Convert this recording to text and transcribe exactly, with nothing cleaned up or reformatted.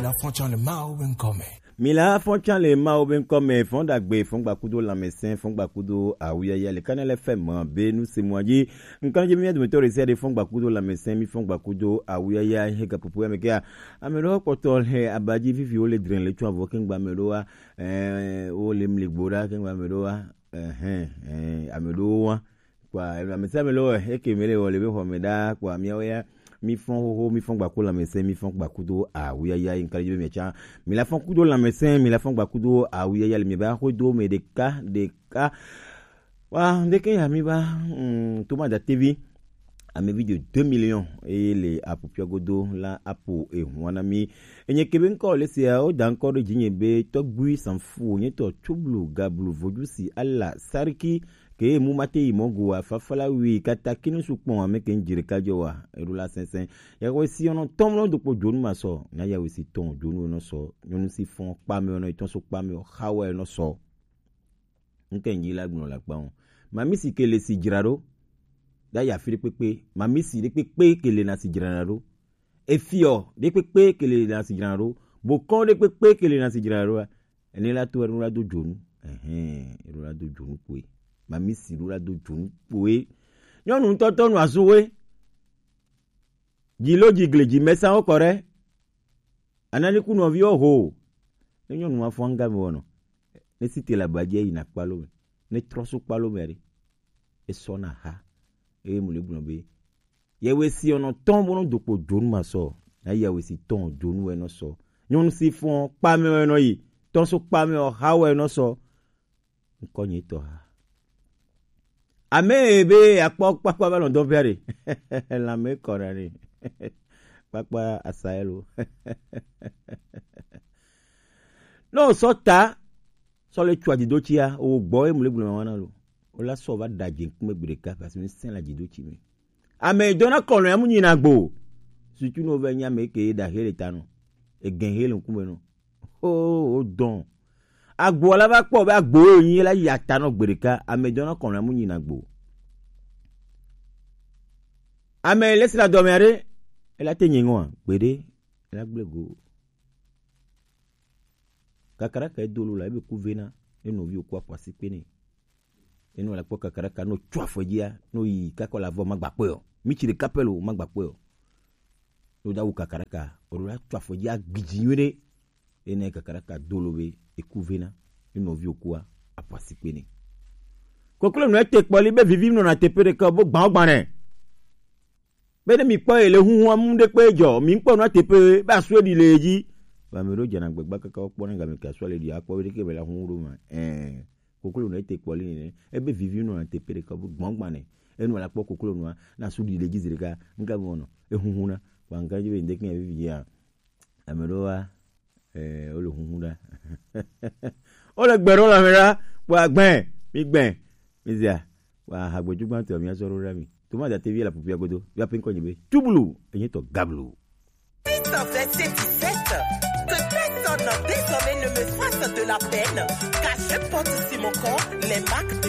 Afɔtsan le Mawu be ŋkɔ me. Mi la fɔtsan le Mawu be ŋkɔ me, fɔn dagbe, fɔn gbakudo lamɛsɛn, fɔn gbakudo awuyaya le Kanɛlɛ fɛ mɔ be nu se mɔ dzi. Ŋkan dzi mi dometɔ ɖe sia ɖe fɔn gbakudo lamɛsɛn, mi fɔn gbakudo awuyaya he gaƒoƒo ya me kea. Ame ɖewo kpɔtɔ le abadzi vivi wo le dre le tso avɔ kengba me ɖo wa, eh, wo le mli gbo ɖa kengba me ɖo wa, eh, eh, ame ɖewo wa. Kpɔa, ame sia ame le wɔ, eke me le wɔ le be xɔ me ɖaa, kpɔa, miawo ya, mi fɔn xoxo, mi fɔn gbaku lãmesẽ, mi fɔn gbaku do awuyaya, yi ŋkali be mia tsa. Mi la fɔn kudo lãmesẽ, mi la fɔn gbaku do awuyaya le mi ba xo do me ɖeka, ɖeka. Wa, ndeke ya mi ba, mm, Toma da T V. Ame vi de deux millions eye le apu pia godo la apu ehun na mi. Enye kebe ŋkɔ le sia, o da ŋkɔ ɖe dzinye be Tɔgbui Sanfu, nye tɔ Tsublu, Gablu, Vojusi, Ala, Sariki, ke mu mate yi mɔ go wa, fafala wi, kata kinu su kpɔn ame ke ŋdzi ɖeka dzɔ wa, eɖo la sɛnsɛn. Yawe si ɔnɔ tɔn mlɔ do kpo dzonu ma sɔ, na yawe si tɔn dzonu enɔ sɔ, nyɔnu si fɔn kpame ɔnɔ etɔn so kpame ɔ, xawa enɔ sɔ. Ŋke ŋdzi la gblɔ la kpa ŋu. Mami si ke le si dzra ɖo, da ya fi ɖe kpekpe, mami si ɖe kpekpe ke le na si dzra ɖo. Efiɔ ɖe kpekpe ke le na si dzra ɖo. Bokɔ ɖe kpekpe ke le na si dzra ɖo. Ene la to enu la do dzonu. Ɛhɛn, enu la do dzonu kpoe. Mami si ɖo la do dzonu kpoe. Nyɔnu ŋutɔ tɔ nu azu we. Dzi lo dzi gle dzi mɛsa wo kɔ ɖe. Anani ku nɔviwo ho. Ne nyɔnu ma fɔ anga me wɔnɔ. Ne si te le abadzi yi na kpalo me. Ne trɔ so kpalo me ɖe. Esɔ na ha. Eye mu le gblɔ be. Yewe si ɔnɔ tɔn bo no dokpo dzonu ma sɔ. Na yewe si tɔn dzonu wɛ nɔ sɔ. Nyɔnu si fɔ kpame wɛ nɔ yi. Tɔn so kpame ɔ ha wɛ nɔ sɔ. Ŋkɔ nye tɔ ha. Ame be akpɔ kpakpa va lɔn dɔn via ɖe. Lãme kɔ na ni. Kpakpa asaelo. No sɔ ta, sɔ le tsua dzido tsia, o gbɔ e mu le gblɔ ma wana lo. O la sɔ va da dze ŋkume gbe ɖeka, parce que mi sɛn la dzido tsi mi. Ame dɔna kɔnɔ ya mu nyina gbo. Surtout no ve nya me ke da hele ta no. E gen hele ŋkume no. Oh, oh, dɔn. Agbo la va kpɔ be agbo ye nyi la ya ta nɔ gbe ɖeka, ame dɔna kɔnɔ mu nyina gbo. Ame le sra dɔme aɖe, ela te nye ŋua, gbeɖe, ela gble go. Kakaraka edo lo la, ebe ku vena, ne nɔvi o ku afɔ asi kpe ne. Enu la kpɔ kakaraka no tso afɔ dzia, no yi kakɔ la vɔ magba kpɔe o. Mi tsi ɖeka pɛ lo magba kpɔe o. No da wu kakaraka, o la tso afɔ dzia gbidzi nyuie ɖe. Ene kakaraka do lo be eku vena. Enu vi okua afɔ asi kpe ne. Koklo no ete kpɔli be vivi nɔ na teƒe ɖeka bo gbã gbã nɛ. Be ne mi kpɔ ele huhu amu ɖe kpe dzɔ, mi kpɔ no teƒe be asu eɖi le edzi. Ba me ɖo dzena gbegba kaka kpɔ ne game ke asu le ɖi akpɔ be ɖeke be la huhu ɖo ma. Eh. Koklo no ete kpɔli ne. Ebe vivi nɔ na teƒe ɖeka bo gbɔngbane. Enu la kpɔ koklo nua, na su ɖi le dzi zi ɖeka, ŋka me wɔnɔ, ehuhu na. Kpa ŋka dzi be ŋdeke ya vivi ya. Ame ɖewo wa, eh, wole huhu ɖa. Wole gbe ɖo le ame ɖa, kpɔ agbɛ, mi gbɛ, mi zia. Wa hagbeju gbãtɔ mi azɔ ɖo ɖa mi. Toma da tevi la pupia godo, ya pe ŋkɔ nyi be, Tublu, enye tɔ Gablu. Six vingt-sept dix-sept. Que personne désormais ne me fasse de la peine, car je porte sur mon corps les marques de